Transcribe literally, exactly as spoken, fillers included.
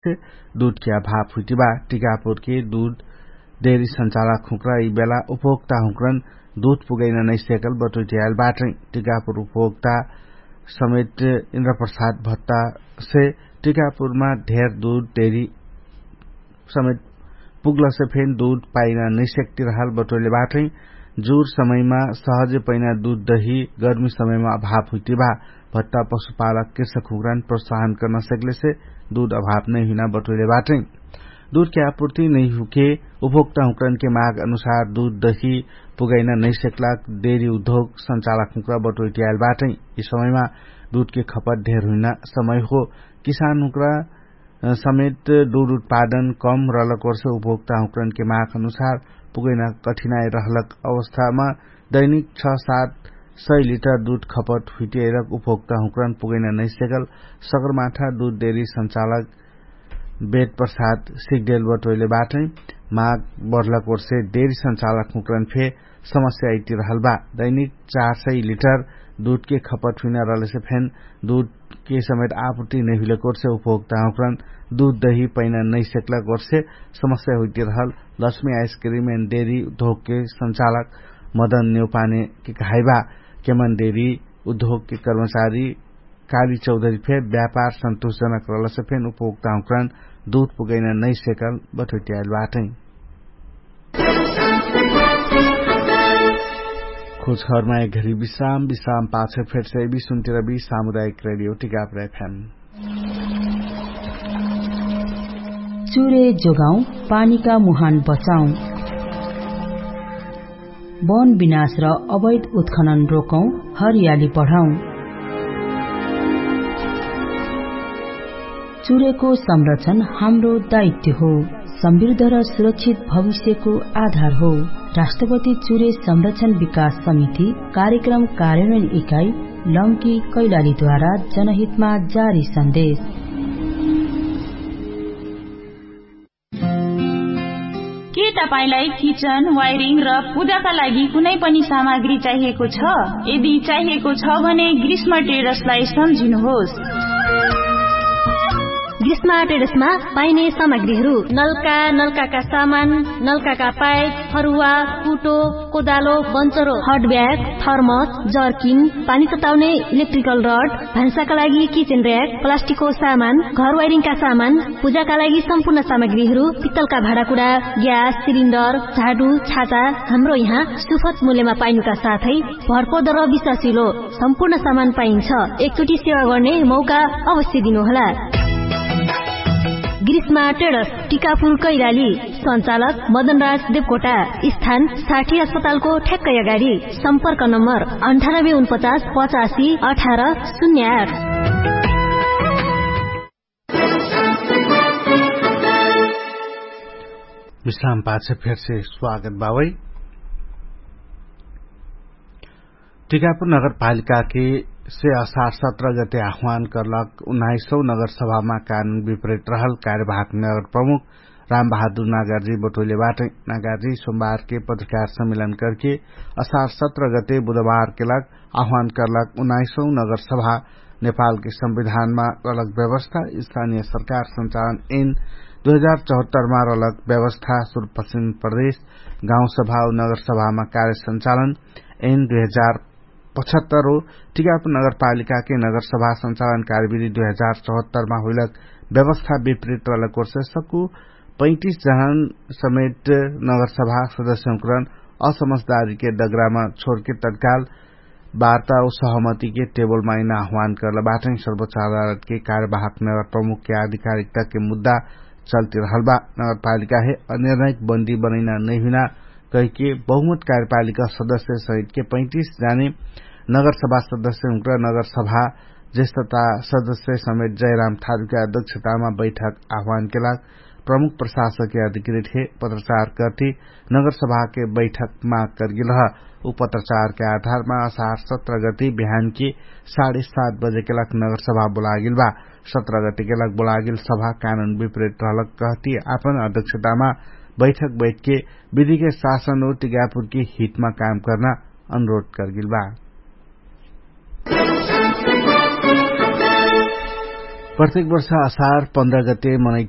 से दुधके अभाव हुइतिबा। टिकापुरके दुध डेरी संचालक हुँक्रा यि बेला उपभोक्ता हुँक्रन दुध पुगैना नैसेकल बटोइटियाइल बाटै। टिकापुर उपभोक्ता समेत इन्द्रप्रसाद भत्ता से टिकापुरमा ढेर दुध डेरी समेत पुग्लसे फेन दुध पाइना नैसेकतिरहाल बटोइले बाटै। जुर समयमा सहजे पैना दुध दही गर्मी समयमा अभाव हुइतिबा। भत्ता पशुपालक कृषक हुँक्रान प्रोत्साहन कर्ना सेकलेसे दुध अभाव नैहुइना बटोइले बाटै। दुधके आपुर्ति नैहुके उपभोक्ता हुँक्रानके माग अनुसार दुध दही पुगैना नैसेकलाक डेरी उद्योग संचालक हुँक्रा बटोइटियाइल बाटै। यि समयमा दुधके खपत ढेर हुइना समय हो। किसान हुँक्रा समेत दुध उत्पादन कम रलक वर्ष उपभोक्ता हुँक्रानके माग अनुसार पुगैना कठिनाइ रहलक अवस्थामा दैनिक छ सात सय लिटर दुध खपत हुइटियाइलक उपभोक्ता हुँक्रान पुगैना नैसेकल सगरमाठा दुध डेरी संचालक बेद प्रसाद सिगदेल बटोइले बाटै। माग बढलक वर्षे डेरी संचालक हुँक्रान फे समस्या अइतिरहल बा। दैनिक चार सय लिटर दुधके खपत हुइना रहलेसे फेन दुधके समेत आपुर्ति नैहुइलक वर्षे उपभोक्ता हुँक्रान दुध दही पैना नैसेकलक वर्षे समस्या हुइतिरहल लक्ष्मी आइसक्रिम एन डेरी उद्योगके संचालक मदन नेउपानेके कहाइबा। केमन डेरी उद्योगके कर्मचारी काली चौधरी फे व्यापार सन्तुष्टजनक रहलसे फेन उपभोक्ता हुँक्रान दुध पुगैना नैसेकल बटोइटियाइल बाटै। खोजखबरमा एक घरी विश्राम विश्राम पाछे फेरसे विसुन्तिरबी सामुदायिक रेडियो टिकापुर एफएम। चुरे जोगाउँ पानीका मुहान बचाउँ। वन विनाश र अवैध उत्खनन रोकौँ। हरियाली बढाउँ। चुरेको संरक्षण हाम्रो दायित्व हो। समृद्ध र सुरक्षित भविष्यको आधार हो। राष्ट्रपति चुरे संरक्षण विकास समिति कार्यक्रम कार्यान्वयन इकाइ लम्की कैलालीद्वारा जनहितमा जारी सन्देश। के तपाईंलाई किचन वायरिङ र पूजाका लागि कुनै पनि सामग्री चाहिएको छ? यदि चाहिएको छ भने ग्रीष्म ट्रेडर्सलाई सम्झिनुहोस्। ग्रीष्म ट्रेडर्समा पाइने सामग्रीहरू नल्का नल्काका सामान, नल्काका पाइप, फरुवा, कुटो, कोदालो, बन्चरो, हटब्याग, थर्मस, जर्किन, पानी सताउने इलेक्ट्रिकल रड, भान्साका लागि किचेन र्याक, प्लास्टिकको सामान, घर वाइरिङका सामान, पूजाका लागि सम्पूर्ण सामग्रीहरू, पित्तलका भाँडाकुडा, ग्यास सिलिन्डर, झाडु, छाता, हाम्रो यहाँ सुफत मूल्यमा पाइनुका साथै भरपर्दो र विश्वासिलो सम्पूर्ण सामान पाइन्छ। एकचोटि सेवा गर्ने मौका अवश्य दिनुहोला। ग्रीष्मा ट्रेडर्स, टिकापुर कैलाली। सञ्चालक मदनराज देवकोटा। स्थान साठी अस्पतालको ठ्याक्कै अगाडि। सम्पर्क नम्बर अन्ठानब्बे उनपचास पचासी अठार शून्य आठ। विश्राम पाछ फेरसे स्वागत बावै। टिकापुर नगरपालिकाके से असार सत्र गते आह्वान कर्लक उन्नाइसौ नगरसभामा कानुन विपरीत रहल कार्यवाहक नगर प्रमुख रामबहादुर नागार्जी बटोइले बाटै। नागार्जी सोमबारके पत्रकार सम्मेलन करके असार सत्र गते बुधबारके लग आह्वान कर्लक उन्नाइसौ नगरसभा नेपालके संविधानमा रलक व्यवस्था स्थानीय सरकार सञ्चालन एन दुई हजार चौहत्तरमा रलक व्यवस्था सुरुपश्चिम प्रदेश गाउँसभा नगरसभामा कार्य सञ्चालन एन दुई हजार पचहत्तर हो। टिकापुर नगरपालिकाके नगरसभा सञ्चालन कार्यविधि दुई हजार चौहत्तरमा हुइलक व्यवस्था विपरीत रलक वर्ष सक्कु पैतिस जनान समेत नगरसभा सदस्यहुँकरन असमझदारीके डगरामा छोरके तत्काल वार्ता व सहमतिके टेबलमा आइना आह्वान कर्ल बाटै। सर्वोच्च अदालतके कार्यवाहक नगर प्रमुखके आधिकारिकताके मुद्दा चल्तिरहल बा। नगरपालिकाहे अनिर्णायक बन्दी बनैना नैहुइना कहिके बहुमत कार्यपालिका सदस्य सहितके पैतिस जाने नगरसभा सदस्यहुँकर नगरसभा जेष्ठता सदस्य समेत जयराम थारुके अध्यक्षतामा बैठक आह्वानके लाग प्रमुख प्रशासकके अधिकृतहे पत्रचार कर्ति नगरसभाके बैठक माग कर्गिलह। उ पत्रचारके आधारमा असार सत्र गति बिहानके साढे सात बजेके लाग नगरसभा बोलागिल बा। सत्र गतिके लाग बोलागिल सभा कानुन विपरीत रहलक कहति आपन अध्यक्षतामा बैठक बैठके विधिके शासन उ टिकापुरके हितमा काम कर्ना अनुरोध कर्गिल बा। प्रत्येक वर्ष असार पन्ध्र गते मनैत